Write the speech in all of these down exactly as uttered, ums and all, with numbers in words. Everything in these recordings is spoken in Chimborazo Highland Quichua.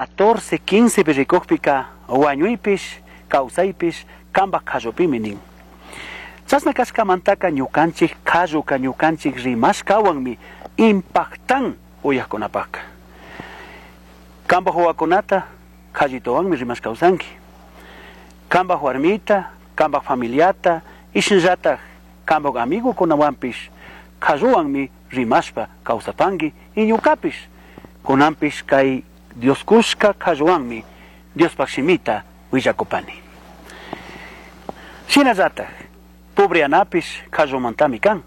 Catorce, quince rikukpika wañuypish kawsaypish kambaj qallupimi nin. Chashna kashkamantaka ñukanchik qalluka ñukanchik rimashkawanmi impactan uyajkunapaka. Kambaj wawakunata qallituwanmi rimash kawsanki. Kambaj warmita, kambaj familiata, ishnallataj kambaj amigukunawanpish qalluwanmi rimashpa kawsapanki y ñukapish kunanpish kay Dios kushka qalluwanmi Diospaj shimita willakupani. Shinallataj pobreyanapish qallumantami kan,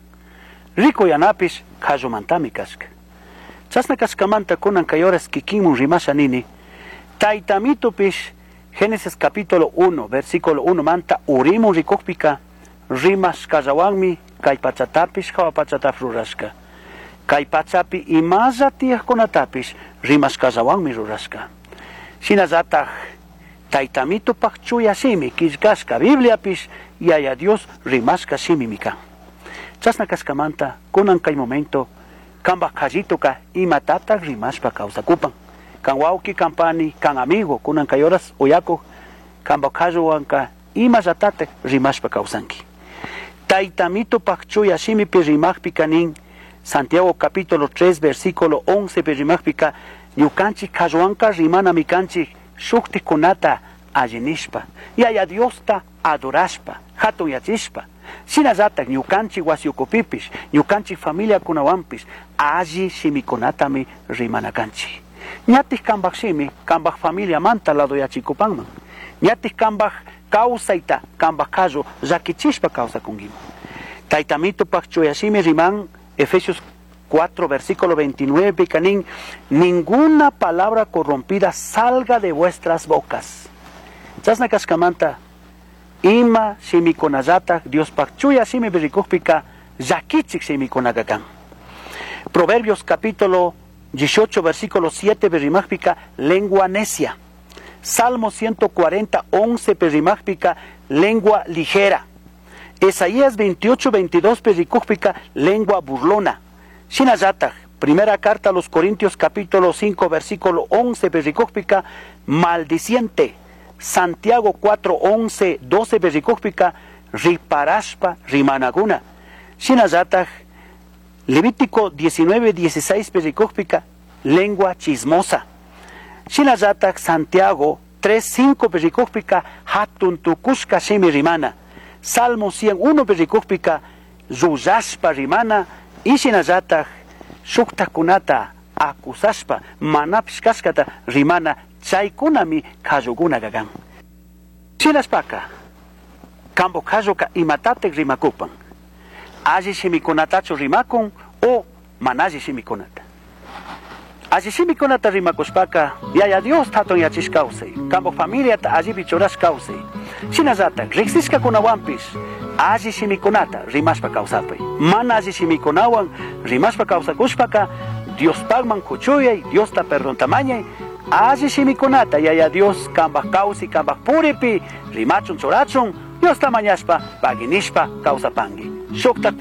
ricuyanapish qallumantami kashka. Chashna kashkamanta kunan kay horas kikinmun rimasha nini, Taytamitupish Génesis capítulo uno, versículo uno manta urimun rikukpika rimashkallawanmi kay pachatapish hawa pachatapish rurashka. Kay pachapi imalla tiyajkunatapish rimashkallawanmi rurashka. Shinallataj Taytamitupaj chuya shimi killkashka Bibliapish Yaya Dios rimashka shimimi kan. Chashna kashkamanta kunan kay momento kambaj qallituka imatataj rimashpa kawsakupan. Kan wawki, kan pani, kan amigo, kunan kay horas uyakuj kambaj qalluwanka imallatataj rimashpa kawsanki. Taytamitupaj chuya shimipi rimajpika nin Santiago capítulo tres versículo once pi rimajpika ñukanchik qalluwanka rimanami kanchik shuktikunata alli nishpa, Yaya Diosta adorashpa, hatunyachishpa. Shinallataj ñukanchik wasi ukupipish, ñukanchik familiakunawanpish alli shimikunatami rimana kanchik. Ñatik kambaj shimi, kambaj familiamanta ladoyachikupanman. Ñatik kambaj kawsayta, kambaj qallu llakichishpa kawsakunkiman. Taytamitupaj chuya shimi riman Efesios cuatro, versículo veintinueve, canín, ninguna palabra corrompida salga de vuestras bocas. Chashna kashkamanta, ima shimikunallata Diospaj chuya shimi rikukpika llakichik shimikunaka kan. Proverbios capítulo dieciocho, versículo siete, rimajpika, lengua necia. Salmo ciento cuarenta, once, rimajpika, lengua ligera. Isaías veintiocho, veintidós, rikukpika, lengua burlona. Shinallataj, primera carta a los Corintios capítulo cinco, versículo once, rikukpika, maldiciente. Santiago cuatro, once, doce, rikukpika, riparashpa, rimanaguna. Shinallataj, Levítico diecinueve, dieciséis, rikukpika, lengua chismosa. Shinallataj, Santiago tres, cinco, rikukpika, hatun tukushka shimi rimana. Salmo cien uno, rikukpika, llullashpa rimana. Y shinallataj, shuktakunata acusashpa, manapish kashkata rimana, chaykunami qallukuna kakan. Shinashpaka, kambo qalluka imatatek rimakupan. Alli shimikunatachu rimakun o mana alli shimikunata. Alli shimikunata rimakushpaka, Yaya Dios hatun yachish kawsay, kambo familiata allipi churash kawsay. Shinallataj, riksishkakunawanpish, alli shimikunata rimashpa kawsapay. Mana alli shimikunawan rimashpa kawsakushpaka, Diospagman kuchuyay, Diosta perdonta mañay, alli shimikunata Yaya Dios kambaj kawsi, kambaj puripi, rimachun churachun, Diosta mañashpa, paginishpa kawsapanki. Shuktak